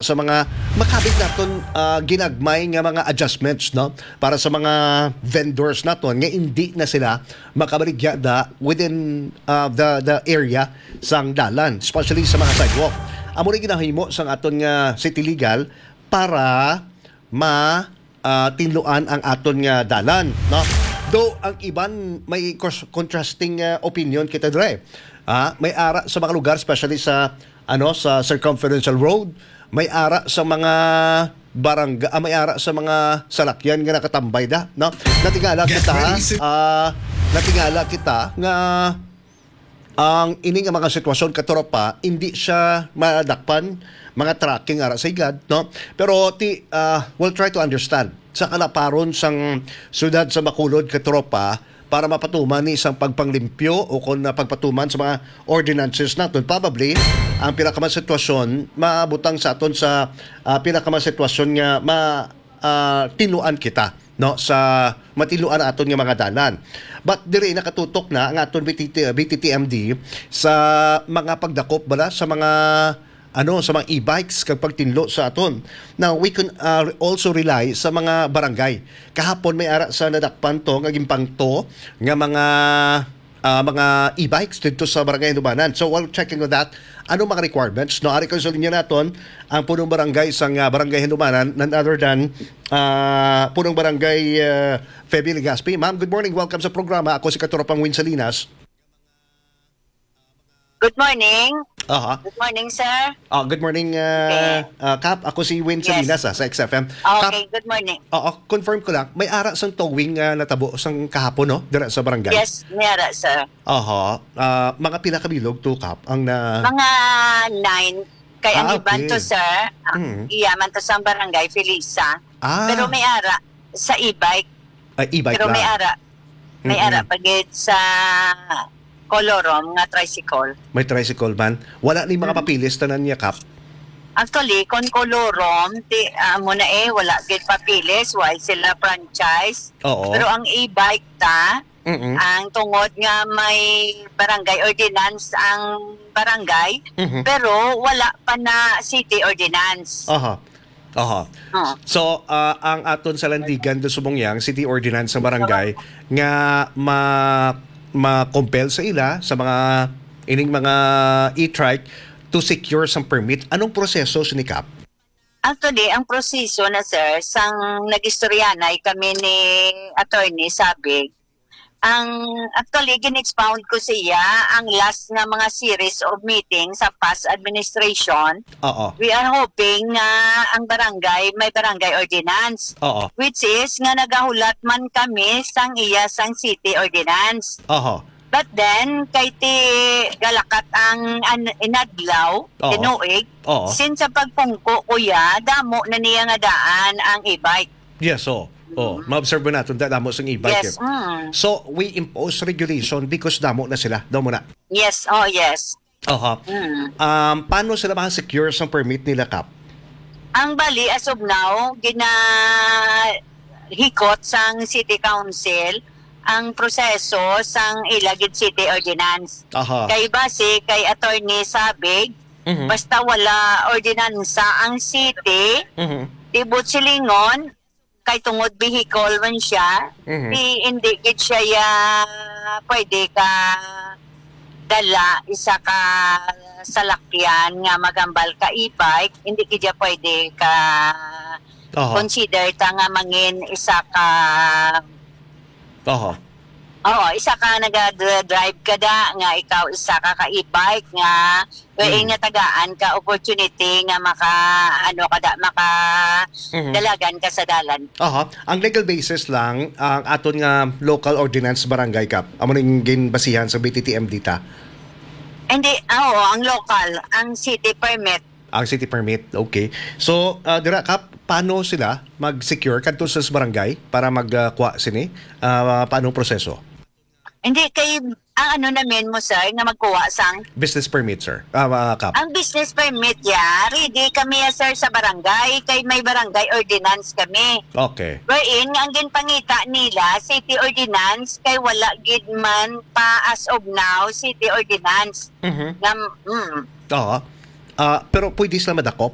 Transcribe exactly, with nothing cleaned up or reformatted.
sa mga makabig naton, ah, ginagmay nga mga adjustments, no, para sa mga vendors naton nga hindi na sila makabaligya da within, ah, the, the area sang dalan, especially sa mga sidewalk. Amo ni ginahimo sang aton nga City Legal para ma, ah, tinluan ang aton nga dalan, no? Though ang iban may cos-, contrasting, ah, opinion kita dire. Ah, may ara sa mga lugar, especially sa, ano, sa Circumferential Road, may ara sa mga barangay, ah, may ara sa mga salakyan nga nakatambay da, no? Natingala kita, ah, natingala kita nga ang ini nga mga sitwasyon, katropa, hindi siya madakpan, mga tracking ara sa higad, no? Pero ti, ah, we'll try to understand sa kalaparon sang siyudad sa Bacolod, katropa, para mapatuman ni sang pagpanglimpyo o kon na pagpatuman sa mga ordinances naton. Probably, ang pinakaman sitwasyon maabutang sa aton sa, ah, pinakaman sitwasyon nga ma-, ah, tinluan kita, no, sa matinluan aton nga mga dalan. But diri nakatutok na ang aton B T T, B T T M D sa mga pagdakop bala sa mga, ano, sa mga e-bikes kag pagtinlo sa aton. Now, we can, ah, also rely sa mga barangay. Kahapon may ara sa nadakpan to nga ginpangto nga mga, ah, mga e-bikes didto sa Barangay Handumanan. So, while checking on that, ano mga requirements, no? Ari ko sa linya naton ang punong barangay sang, ah, Barangay Handumanan, none other than, ah, punong barangay, ah, Feby Legaspi. Ma'am, good morning. Welcome sa programa. Ako si Katuropang Win Salinas. Good morning. Aha. Good morning, sir. Ah, good morning, ah, Okay. ah, Kap. Ako si Win Yes. Salinas, ah, sa X F M. Kap, Okay, good morning. Oo, confirm ko lang. May ara sang towing nga natabo sang kahapon, no? Dira sa barangay. Yes, may ara, sir. Aha. Ah, mga pila ka bilog to, Kap, ang na Mga nine. Kay ang Ah, iban to, okay. sir, ah, Mm. iya man to sa barangay Felisa. Ah, Pero may ara sa e-bike. ay, e-bike Pero may lang. ara. May Mm-mm. ara pa gid sa Colorum nga tricycle. May tricycle man. Wala ni mga Mm. papilis tanan niya, Kap. Actually, kon Colorum, ti, amo na eh, wala gid papilis, why sila franchise. Oo. Pero ang e-bike ta, Mm-mm. ang tungod nga may barangay ordinance ang barangay, Mhm. pero wala pa na city ordinance. Aha. Aha. Oo. So, ah, ang aton sa Landigan do Subongyang City Ordinance sa barangay nga ma ma-compel sa ila sa mga ining mga e-trike to secure sang permit. Anong proseso sini, Kap? Actually, ang proseso na, sir, sang nagistoryanay kami ni Attorney Sabig, ang actually gin-expound ko siya ang last nga mga series of meeting sa past administration. Oo. We are hoping nga ang barangay may barangay ordinance, Oo. which is nga nagahulat man kami sang iya sang city ordinance. Aha. But then, kay ti galakat ang an- inadlaw, Oo. tinuig, Oo. since sa pagpungko, kuya, damo na niya nga daan ang e-bike. Yes, so. Oh, Mm. ma-observe naton da damo sang e-bike. Yes, Eh. mm. So, we impose regulation because damo na sila. Damo na. Yes, oh yes. Aha. Mm. Um, paano sila maka-secure sang permit nila, Kap? Ang bali, as of now, ginahikot sang City Council ang proseso sang ila gid city ordinance. Aha. Kay base kay Attorney Sabig, Mhm. basta wala ordinansa ang city, Mhm. tibot silingon, kay tungod vehicle man siya, Mhm. di, hindi gid siya ya, pwede ka dala isa ka salakyan nga magambal ka e-bike, hindi gid siya pwede ka Aha. consider ta nga mangin isa ka Aha. Oo, isa ka naga-drive ka da nga ikaw isa ka ka e-bike nga wherein Mm. nga tagaan ka opportunity nga maka ano ka da maka Mhm. dalagan ka sa dalan. Aha. Ang legal basis lang ang aton nga local ordinance barangay, Kap. Amo ning ginbasihan sa B T T M D ta. Hindi, ah, oo, ang local, ang city permit. Ang city permit, okay. So, ah, dira, Kap, paano sila mag-secure kadto sa barangay para magkuha sini? Ah, paano ang proseso? Hindi kay ang ano namin mo, sir, nga magkuha sang Business permit, sir. Ah, ah, Kap. Ang business permit ya, ready kami ya, sir, sa barangay kay may barangay ordinance kami. Okay. Wherein nga ang ginpangita nila city ordinance kay wala gid man pa as of now city ordinance. Mhm. Nga, mm, Oo. Ah, pero pwede sila madakop?